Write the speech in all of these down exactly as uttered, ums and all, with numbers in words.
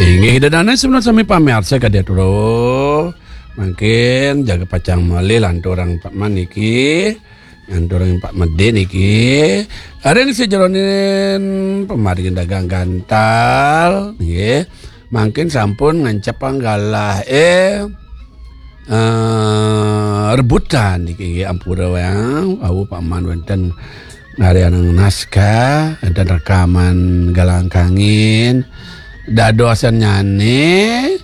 Inggih, ida dané semeton sami pamiarsa kadi atura. Mangkin jaga pacang malih lanturang Pak Man niki, lanturang Pak Medé niki. Ring sajeroning pamargin dagang gantal, nggih. Mangkin sampun ngancep panggalah, eh, eh, rebutan niki, nggih, ampura wayang wau Pak Man wénten ngaryanang naskah, wénten rekaman galang kangin. Dadosan nyané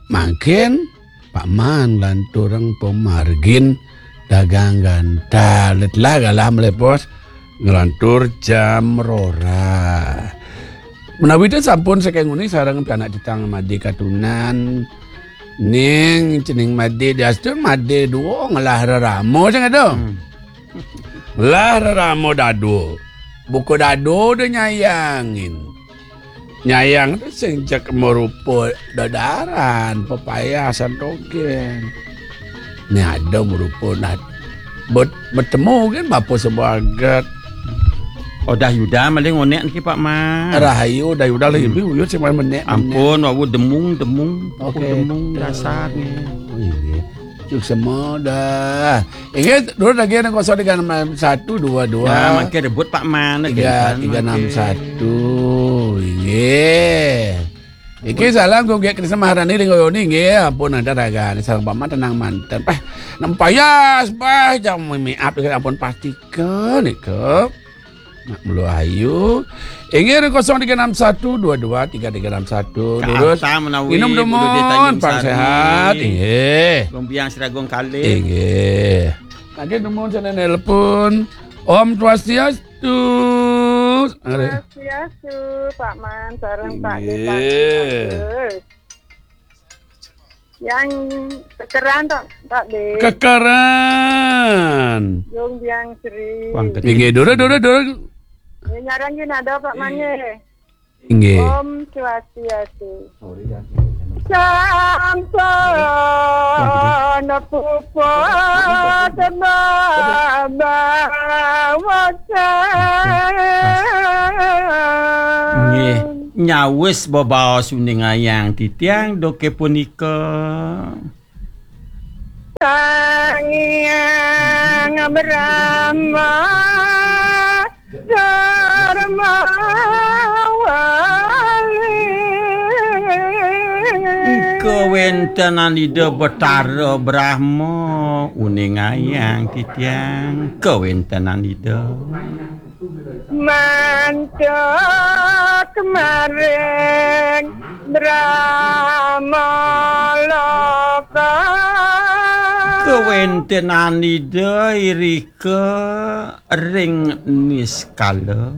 mangkin Pak Man lanturang pamargin dagang gantal. Telah galah melepos nglantur jam rora. Menawi ten sampun saking nguni sareng pianak titang Madé Katunan, ning cening Madé diastun Madé dua ngelah rerama sing ada. Hmm. Ngelah rerama dadu. Buka dadu dia nyayangin. Nyayang tu sing cek merupa dadaran, pepayah santogén. Ni ada merupa nah bet, bertemu kan bapa sebagat. Oh, dah Yuda maling onek niki, Pak Man. Rahayu dah Yuda lagi Hmm. bi uyut sing main menek. Ampun, wau demung, demung. Okey. Demung dasar ni. Oh, iya. Cuk semua dah. Inggih, dulu lagi ada kosong tiga enam satu dua dua. Ya, makin rebut Pak Man, tiga tiga enam satu. Inggih. Iki salam kok gek Krisna Maharani ring Oyoni nggih, ampun ada raga. Salam Pak Man tenang manten. Eh, nempayas bah jam mimi up ampun pastikan nika. Nak mulu ayu. Inggih kosong tiga enam satu dua dua tiga tiga enam satu. Terus minum demun, pang sehat. Inggih. Gombiang Seragung Kalih. Inggih. Lagi demun sana nelpon. Om Swastiastu. Swastiastu, Pak Man, sareng Pak Dé. Inggih. Yang kekeran tak, tak deh. Kekeran. Jong Biang Sri. Inggih, dora, dora, dora. Ini nyarang gini ada Pak Manye. Inggih. Om Swastiastu. Sampun puput babawasan. Nggih, nyawis bebaos uning ayang titiang doke punika. Sang Hyang Brahma Darma Wali. Kawentenan Ida Betara Brahma uning ayang titiang kawentenan Ida. Mantuk maring Brahma Loka. Kawentenan Ida irika ring niskala.